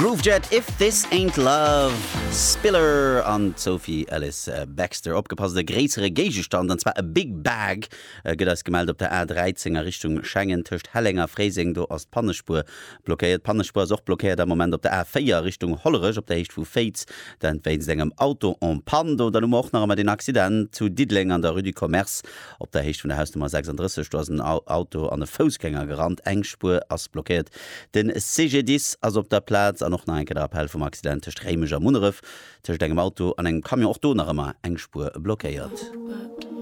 Groovejet, If This Ain't Love, Spiller an d'Sophie Ellis Bextor. Opgepasst, e gréissere Géigestand, an zwar e Big Bag, gëtt eis gemellt op der A13 a Richtung Schengen tëscht Helleng a Fréiseng. Do ass d'Pannespuer blockéiert. D'Pannespuer ass och blockéiert am Moment op der A4 Richtung Hollerech op der Héicht vu Féiz, dat wéinst engem Auto en panne. Do dann hu mer och nach ëmmer deen Accident zu Diddeleng an der Rue du Commerce op der Héicht vun der Hausnummer 36. Do ass en Auto an e Foussgänger gerannt, eng Spuer ass blockéiert. Den CGDIS ass op der Plaz an och nach eng Kéier de Rappell vum Accident tëscht Réimech a Munneref, tëscht engem Auto an engem Camion, och do nach ëmmer eng Spuer blockéiert.